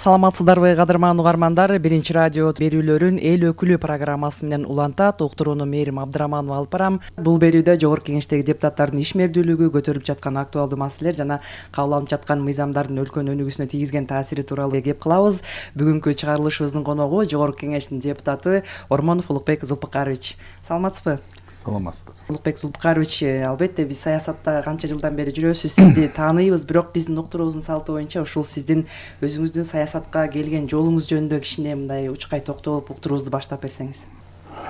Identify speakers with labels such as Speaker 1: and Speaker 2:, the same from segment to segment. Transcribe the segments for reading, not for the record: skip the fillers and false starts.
Speaker 1: Саламатсыздарбы кадырман угармандар, биринчи радио берүүлөрүн эл өкүлү программасы менен улантат. Уктурууну Мээрим Абдыраманова алып барам. Бул берүүдө Жогорку Кеңештеги депутаттардын ишмердүүлүгү, көтөрүлүп жаткан актуалдуу маселелер жана кабыл алынып жаткан мыйзамдардын өлкөнүн өнүгүүсүнө тийгизген таасири тууралуу кеп кылабыз. Бүгүнкү чыгарылышыбыздын коногу Жогорку Кеңештин депутаты Ормонов Улукбек Зулпукарович. Саламатсызбы?
Speaker 2: Саламатсыздар.
Speaker 1: Улукбек Зулпукарович, албетте биз саясатта канча жылдан бери жүрөсүз, сизди тааныйбыз, бирок биздин уктуруубуздун салты боюнча ушул сиздин өзүңүздүн саясатка келген жолуңуз жөнүндө кичине мындай учкай токтолуп уктуруубузду баштап берсеңиз.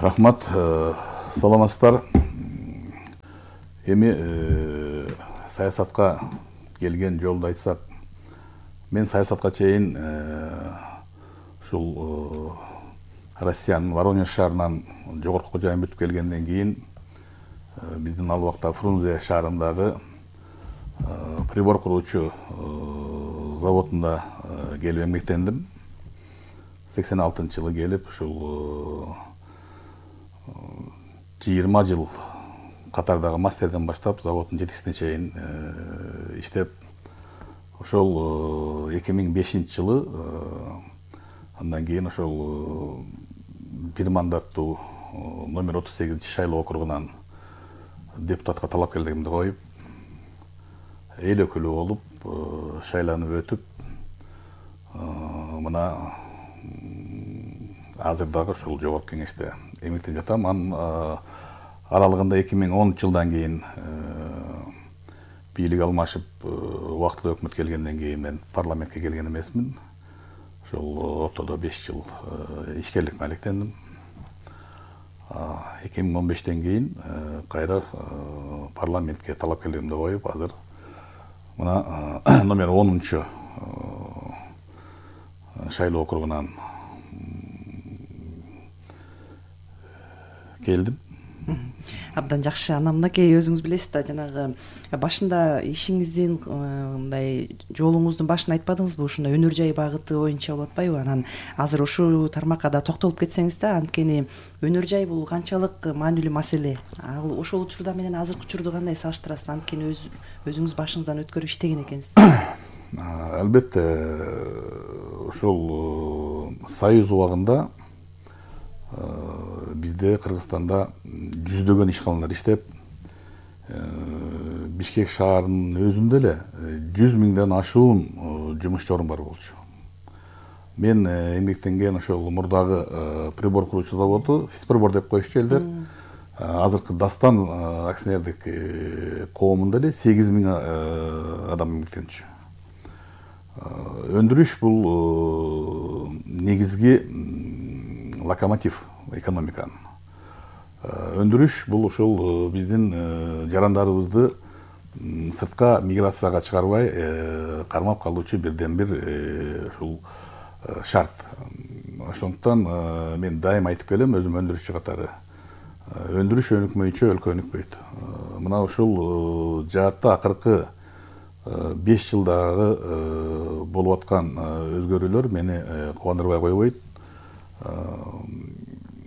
Speaker 2: Рахмат. Саламатсыздар. Эми саясатка келген жолду айтсак, мен саясатка чейин ушул Россиянын Воронеж шаарынан жогорку жайын бүтүп келгенден кийин биздин ал убакта Фрунзе шаарындагы прибор куруучу заводунда келип эмгектендим. 86-жылы келип, ушул 20 жыл катардагы мастерден баштап заводдун жетекчисине чейин иштеп, ошол 2005-жылы андан кийин ошол бир мандаттуу номер 38 шайлоо округунан депутатка талапкерлигимди коюп, эл өкүлү болуп, шайланып өтүп, мына азыр дагы ушул Жогорку Кеңеште эмгектенип жатам. Анын аралыгында 2010-жылдан кийин бийлик алмашып, убактылуу өкмөт келгенден кийин мен парламентке келген эмесмин. Ошол ортодо 5 жыл ишкерлик менен алектендим. 2015-тен кийин кайра парламентке талапкерлигимди коюп, азыр мына номер 10-чу шайлоо округунан келдим.
Speaker 1: Абдан жакшы. Анан мынакей өзүңүз билесиз да, жанагы башында ишиңиздин мындай жолуңуздун башын айтпадыңызбы, ушундай өнөр жай багыты боюнча болуп атпайбы? Анан азыр ушул тармакка да токтолуп кетсеңиз да, анткени өнөр жай бул канчалык маанилүү маселе. Ал ошол учурда менен азыркы учурду кандай салыштырасыз? Анткени өзүңүз башыңыздан өткөрүп иштеген экенсиз.
Speaker 2: Албетте, ошол Союз убагында бизде Кыргызстанда жүздөгөн ишканалар иштеп, Бишкек шаарынын өзүндө эле 100 миңден ашуун жумушчу орун бар болчу. Мен эмгектенген ошол мурдагы прибор куруучу заводу Физприбор деп коюшчу элдер. Азыркы Дастан акционердик коомунда эле 8 миң адам эмгектенчү. Өндүрүш бул негизги локомотив экономиканын. Өндүрүш бул ошол биздин жарандарыбызды сыртка миграцияга чыгарбай кармап калуучу бирден бир ушул шарт. Ошондуктан мен дайым айтып келем, өзүм өндүрүшчү катары. Өндүрүш өнүкмөйүнчө өлкө өнүкпөйт. Мына ушул жаатта акыркы 5 жылдагы болуп аткан өзгөрүүлөр мени кубандырбай койбойт.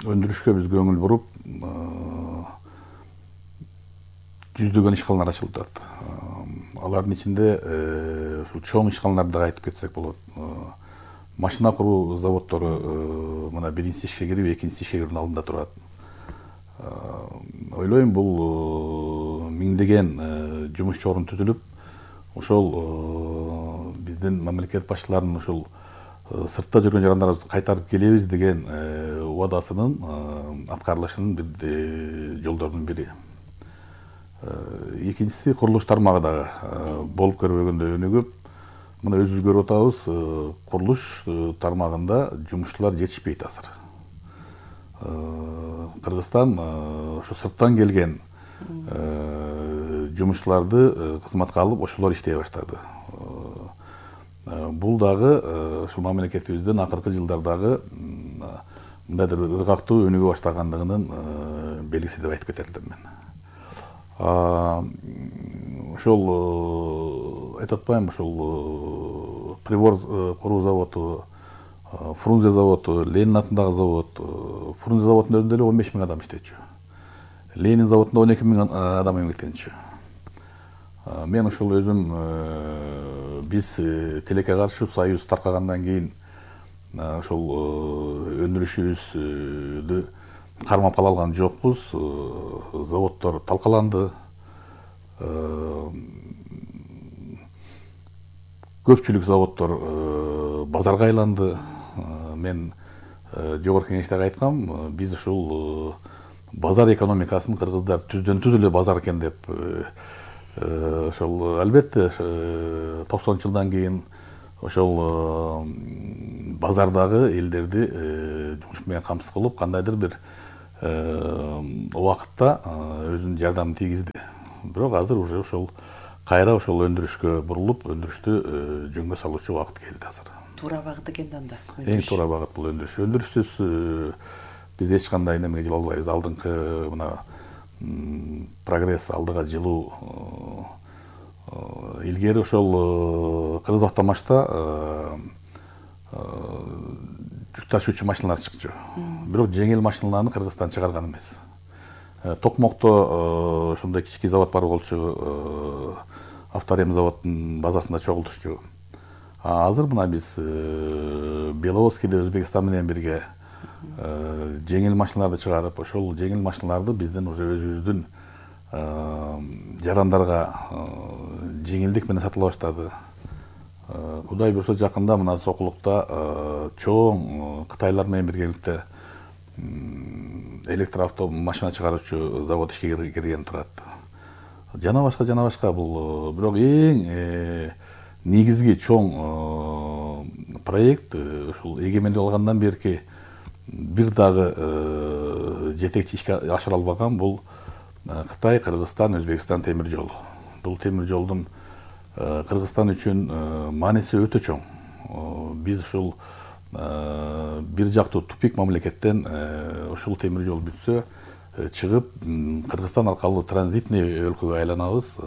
Speaker 2: Өндүрүшкө биз көңүл буруп, жүздөгөн ишканалар ачылып атат. Алардын ичинде ушул чоң ишканаларды да айтып кетсек болот. Машина куруу заводдору мына биринчisi ишке кирип, экинчisi ишке кирүүнүн алдында турат. Ойлойм, бул миңдеген жумушчу орун түзүлүп, ошол биздин мамлекет башчыларынын ушул сыртта жүргөн жарандарыбызды кайтарып келебиз деген убадасынын аткарылышынын бир жолдорунун бири. Экинчиси, курулуш тармагы дагы болуп көрбөгөндөй өнүгүп, мына өзүбүз көрүп атабыз, курулуш тармагында жумушчулар жетишпейт азыр. Кыргызстан ошо сырттан келген жумушчуларды кызматка алып, ошолор иштей баштады. Бул дагы ушул мамлекетибиздин акыркы жылдардагы мындайдыр ыргактуу өнүгө баштагандыгынын белгиси деп айтып кетелдим мен. Ошол айтып атпаймынбы, ошол прибор куруу заводу, Фрунзе заводу, Ленин атындагы завод, Фрунзе заводунун өзүндө эле 15 миң адам иштечү. Ленин заводунда 12 миң адам эмгектенчү. Мен ошол өзүм биз тилекке каршы союз таркагандан кийин ошол өндүрүшүбүздү кармап кала алган жокпуз. Заводдор талкаланды. Көпчүлүк заводдор базарга айланды. Мен жогорку кеңештеги айткам, биз ушул базар экономикасын кыргыздар түздөн түз эле базар экен деп. Ошол албетте 90-жылдан кийин ошол базардагы элдерди жумуш менен камсыз кылып, кандайдыр бир убакытта өзүнүн жардамын тийгизди. Бирок азыр уже ошол кайра ошол өндүрүшкө бурулуп, өндүрүштү жөнгө салуучу убакыт келди азыр.
Speaker 1: Туура багыт экен да анда.
Speaker 2: Эң туура багыт бул өндүрүш. Өндүрүшсүз биз эч кандай немеге жыла албайбыз. Алдыңкы мына прогресс, алдыга жылуу. Илгери ошол Кыргыз автомашта жүк ташуучу машиналар чыкчу. Бирок жеңил машиналарды Кыргызстан чыгарган эмес. Токмокто ошондой кички завод бар болчу, авторем заводдун базасында чогултушчу. Азыр мына биз Беловодскийде Өзбекстан менен бирге жеңил машиналарды чыгарып, ошол жеңил машиналарды бизден уже өзүбүздүн жарандарга жеңилдик менен сатыла баштады. Кудай буйрса жакында мына Сокулукта чоң Кытайлар менен биргеликте электроавто машина чыгаруучу завод ишке кирген турат. Жана башка бул бирок эң негизги чоң проект ушул эгемендик алгандан берки бир дагы жетекчи ишке ашыра албаган бул Кытай, Кыргызстан, Өзбекстан темир жолу. Бул темир жолдун Кыргызстан үчүн мааниси өтө чоң. Биз ушул бир жактуу тупик мамлекеттен ушул темир жол бүтсө чыгып Кыргызстан аркылуу транзитный өлкөгө айланабыз.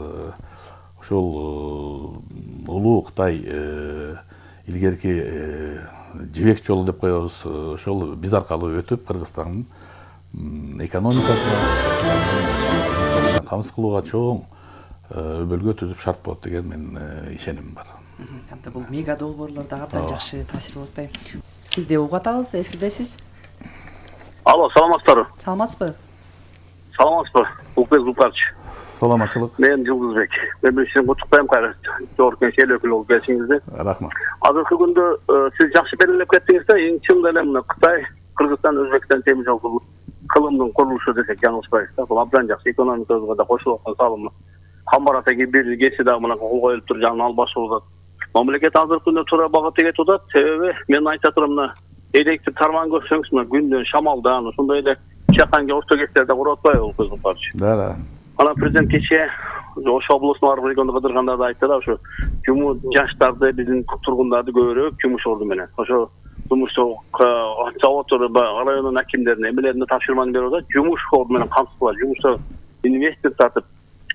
Speaker 2: Ошол улуу Кытай илгерки жибек жолу деп коебуз. Ошол биз аркылуу өтүп Кыргызстандын экономикасына камсыз кылууга чоң өбөлгө түзүп шарт болот деген менин ишенимим бар.
Speaker 1: Анда бул мега долбоорлор да абдан жакшы таасир болуп атпайбы? Сизди угуп атабыз, эфирдесиз.
Speaker 3: Алло, саламатсыздарбы?
Speaker 1: Саламатсызбы?
Speaker 3: Саламатсызбы? Улукбек Зулкарч.
Speaker 2: Саламатчылык.
Speaker 3: Мен Жылдызбек. Мен сизди куттуктайм кайра. Жогорку кеңеш эл өкүлү болуп келишиңизди.
Speaker 2: Рахмат.
Speaker 3: Азыркы күндө сиз жакшы белгилеп кеттиңиз да, эң чынында эле мына Кытай, Кыргызстан, Өзбекстан темир жол кылымдын курулушу десек жаңылышпайбыз да. Бул абдан жакшы, экономикабызга да кошулуп аткан салымы. Камбар атаги бир кечи дагы мына кол коюлуп туруп жанына алып башылып атат. Мамлекет азыркы күндө туура багытта кетип атат. Себеби мен айта турам, мына электр тармагын көрсөңүз, мына күндөн, шамалдан, ошондой эле чаканга орто кестерде куруп атпайбы бул көзүм каршы.
Speaker 2: Да.
Speaker 3: Ана президент кечээ Ош облусунун ар бир региондо кыдырганда да айтты да, ошо жаштарды, биздин тургундарды көбүрөөк жумуш орду менен. Ошо жумуш заводдор райондун акимдерине, эмелерине тапшырманы берип атат, жумуш орду менен камсыз кылат, жумушта инвестор тартып,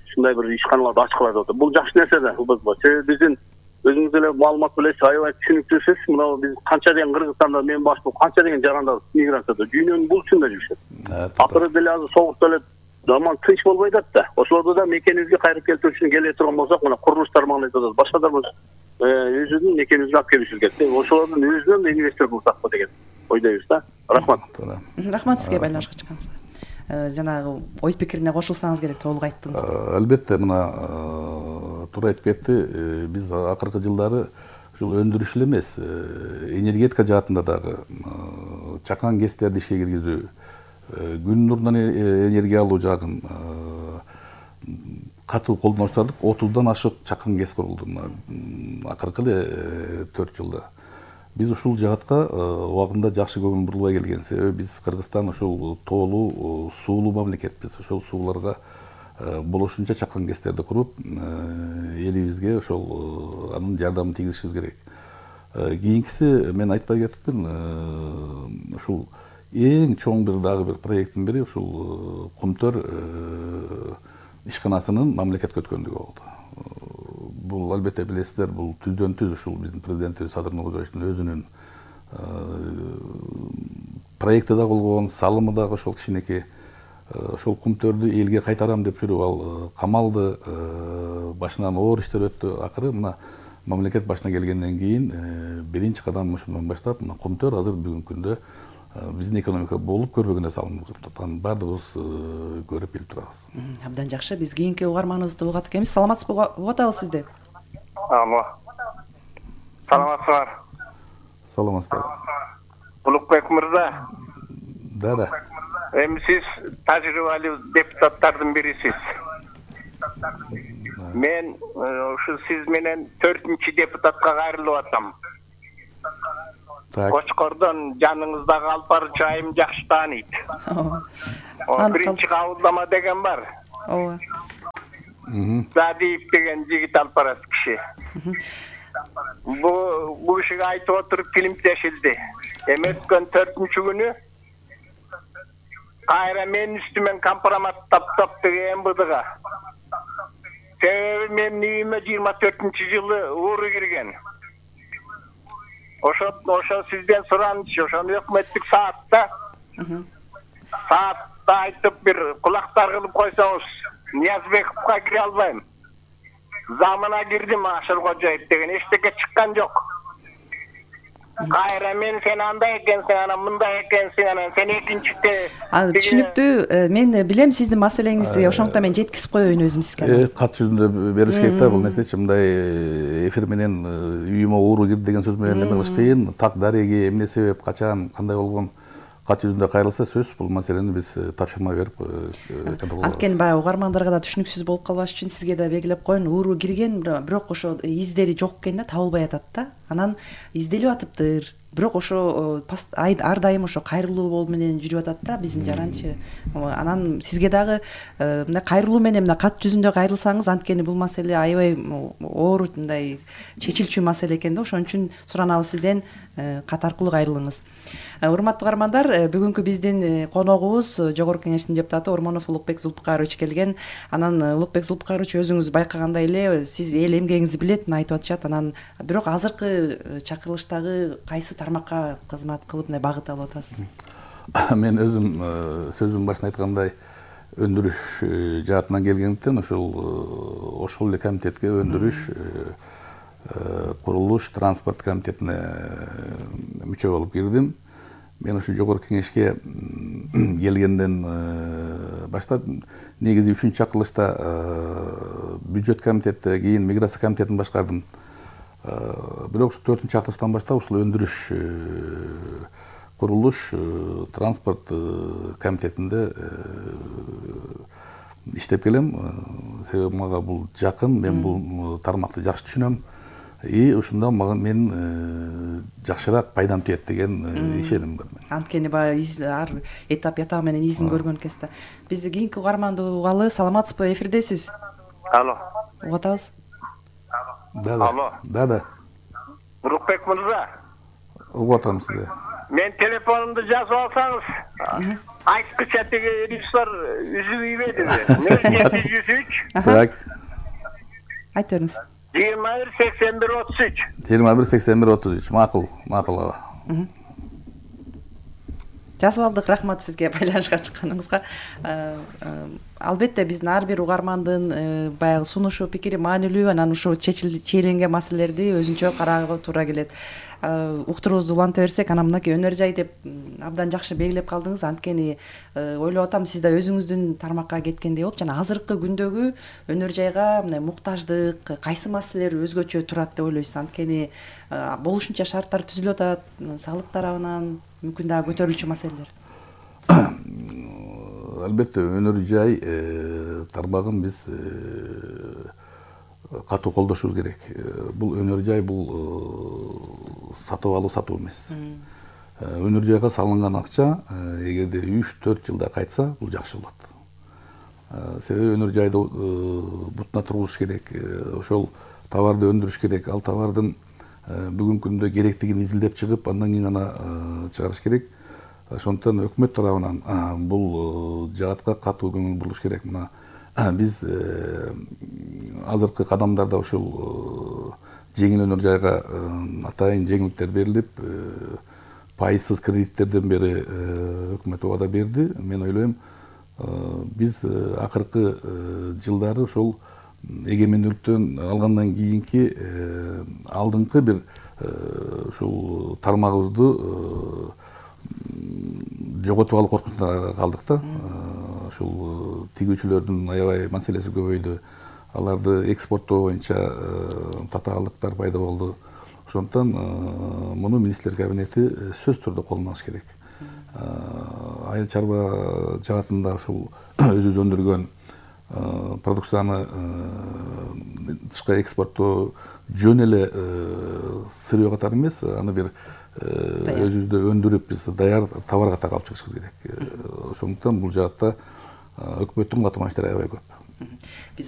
Speaker 3: ушундай бир ишканаларды ачкылап атат. Бул жакшы нерсе да, себеби биздин өзүңүз деле маалымат билесиз, аябай түшүнүктүүсүз. Мына биз канча деген Кыргызстанда мен баш болуп, канча деген жарандар миграцияда, дүйнөнүн бул чында жүрүшөт. Акыры деле азыр соғукта эле заман тынч болбой атат да. Ошолорду да мекенибизге кайрып келтирүү үчүн келе турган болсок, мына курулуш тармагын айтып атат. Башка да өзүнүн мекенибизге алып келиши керек. Ошолордун өзүнөн инвестор кылсакпы деген ойдойбуз да. Рахмат.
Speaker 1: Рахмат сизге байланышка чыкканыңызга. Жанагы ой пикирине кошулсаңыз керек, толук айттыңыз.
Speaker 2: Албетте мына туура айтып кетти. Биз акыркы жылдары ушул өндүрүш эле эмес, энергетика жаатында дагы чакан гэстерди ишке киргизүү, күн нурунан энергия алуу жагын катуу колдоно баштадык. 30дан ашык чакан гэс курулду акыркы эле 4 жылда. Биз ушул жаатка убагында жакшы көңүл бурулбай келген. Себеби биз Кыргызстан ошол тоолуу, суулуу мамлекетпиз. Ошол сууларга болушунча чакан гэстерди куруп, элибизге ошол анын жардамын тийгизишибиз керек. Кийинкиси мен айтпай кетипмин, ушул эң чоң бир дагы бир проекттин бири ушул Кумтөр ишканасынын мамлекетке өткөндүгү болду. Бул албетте билесиздер, бул түздөн түз ушул биздин президентибиз Садыр Нуркожоевичтин өзүнүн проекти да болгон, салымы дагы ошол кичинекей. Ошол Кумтөрдү элге кайтарам деп жүрүп ал камалды, башынан оор иштер өттү. Акыры мына мамлекет башына келгенден кийин биринчи кадам ошондон баштап мына Комтөр азыр бүгүнкү күндө биздин экономика болуп көрбөгөн нерсе алынып жатат. Баардыгыбыз көрүп билип турабыз.
Speaker 1: Абдан жакшы. Биз кийинки угарманыбызды угат экенбиз. Саламатсызбы? Угат алабыз сизди.
Speaker 4: Алло. Саламатсызбы?
Speaker 2: Саламатсыздар.
Speaker 4: Улукбек мырза.
Speaker 2: Да.
Speaker 4: Эми сиз тажрыйбалуу депутаттардын бирисиз. Мен ушу сиз менен 4-чү депутатка кайрылып атам.
Speaker 2: Так.
Speaker 4: Кочкордон жаныңыздагы Алпарчы айым жакшы тааныйт. Биринчи кабылдама деген бар.
Speaker 1: Ооба.
Speaker 4: Задиев деген жигит алпарас киши. Бу кишиге айтып отуруп фильмдешилди. Эми өткөн 4-чү күнү кайра менин үстүмөн компромат таптап деген МВДга. Себеби менин үйүмө 24-жылы ууру кирген. Ошо сизден сураныч, ошону өкмөттүк саатта айтып бир кулактар кылып койсоңуз, Ниязбековго кире албайм. Замына кирдим Ашыркожоев деген эчтеке чыккан жок. Кайра мен сен андай экенсиң, анан мындай экенсиң, анан сен экинчиде.
Speaker 1: Түшүнүктүү. Мен билем сиздин маселеңизди, ошондуктан мен жеткизип коеюн өзүм сизге.
Speaker 2: Кат жүзүндө бериш керек да, бул нерсе мындай эфир менен үйүмө ууру кирди деген сөз менен эме кылыш кыйын. Так дареги, эмне себеп, качан, кандай болгон кат жүзүндө кайрылса сөз бул маселени биз тапшырма берип
Speaker 1: анткени баягы угармандарга да түшүнүксүз болуп калбаш үчүн сизге да белгилеп коеюн. Ууру кирген, бирок ошо издери жок экен да, табылбай атат да. Анан изделип атыптыр. Бирок ошо ар дайым ошо кайрылуу менен жүрүп атат да биздин жаранчы. Анан сизге дагы мындай кайрылуу менен мына кат жүзүндө кайрылсаңыз, анткени бул маселе аябай оор мындай чечилчү маселе экен да. Ошон үчүн суранабыз сизден кат аркылуу кайрылыңыз. Урматтуу угармандар, бүгүнкү биздин коногубуз Жогорку Кеңештин депутаты Ормонов Улукбек Зулпукарович келген. Анан Улукбек Зулпукарович өзүңүз байкагандай эле сиз эл эмгегиңизди билет, айтып атышат. Анан бирок азыркы чакырылыштагы кайсы тармакка кызмат кылып мындай багыт алып атасыз?
Speaker 2: Мен өзүм сөзүмдүн башында айткандай өндүрүш жаатынан келгендиктен ошол эле комитетке өндүрүш, курулуш, транспорт комитетине мүчө болуп кирдим. Мен ушу Жогорку Кеңешке келгенден баштап негизи 3-чү чакырылышта бюджет комитетте, кийин миграция комитетин башкардым. Бирок 4-чү чакырылыштан баштап ушул өндүрүш, курулуш, транспорт комитетинде иштеп келем. Себеби мага бул жакын, мен бул тармакты жакшы түшүнөм. И ушунда мен жакшыраак пайдам тиет деген ишеним бар.
Speaker 1: Анткени баягы ар этап ятагы менен изин көргөн кезде. Биз кийинки угарманды угалы. Саламатсызбы? Эфирдесиз.
Speaker 4: Алло.
Speaker 1: Угатабыз.
Speaker 4: Да. Улукбек мырза.
Speaker 2: Угатам сизди.
Speaker 4: Мен телефонумду жазып алсаңыз, айткыча тиги режиссер үзүп ийбедиби? 0703.
Speaker 2: Так.
Speaker 1: Айтып бериңиз.
Speaker 4: 218133.
Speaker 2: 218133. Макул аба.
Speaker 1: Жазып алдык, рахмат сизге байланышка чыкканыңызга. Албетте биздин ар бир угармандын баягы сунушу, пикири маанилүү, анан ушул чийленген маселелерди өзүнчө караага туура келет. Уктуруубузду уланта берсек, анан мынакей өнөр жай деп абдан жакшы белгилеп калдыңыз. Анткени ойлоп атам, сиз да өзүңүздүн тармакка кеткендей болуп, жана азыркы күндөгү өнөр жайга мындай муктаждык, кайсы маселелер өзгөчө турат деп ойлойсуз? Анткени болушунча шарттар түзүлүп атат, салык тарабынан мүмкүн дагы көтөрүлчү маселелер.
Speaker 2: Албетте өнөр жай тармагын биз катуу колдошубуз керек. Бул өнөр жай бул сатып алуу, сатуу эмес. Өнөр жайга салынган акча эгерде 3-4 жылда кайтса, бул жакшы болот. Себеби өнөр жайды бутуна тургузуш керек, ошол товарды өндүрүш керек, ал товардын бүгүнкү күндө керектигин изилдеп чыгып, андан кийин гана чыгарыш керек. Ошондуктан өкмөт тарабынан бул жаатка катуу көңүл бурулуш керек. Мына биз азыркы кадамдарда ушул жеңил өнөр жайга атайын жеңилдиктер берилип, пайызсыз кредиттерден бери өкмөт убада берди. Мен ойлойм, биз акыркы жылдары ошол эгемендүүлүктөн алгандан кийинки алдыңкы бир ушул тармагыбызды жоготуп алуу коркунучунда калдык да. Ушул тигүүчүлөрдүн аябай маселеси көбөйдү. Аларды экспорттоо боюнча татаалдыктар пайда болду. Ошондуктан муну министрлер кабинети сөзсүз түрдө колдон алыш керек. Айыл чарба жаатында ушул өзүбүз өндүргөн продукцияны тышкы экспорттоо жөн эле сырье катары эмес, аны бир өзүбүздө өндүрүп биз даяр товар катары алып чыгышыбыз керек. Ошондуктан бул жаатта өкмөттүн катманыштары аябай көп.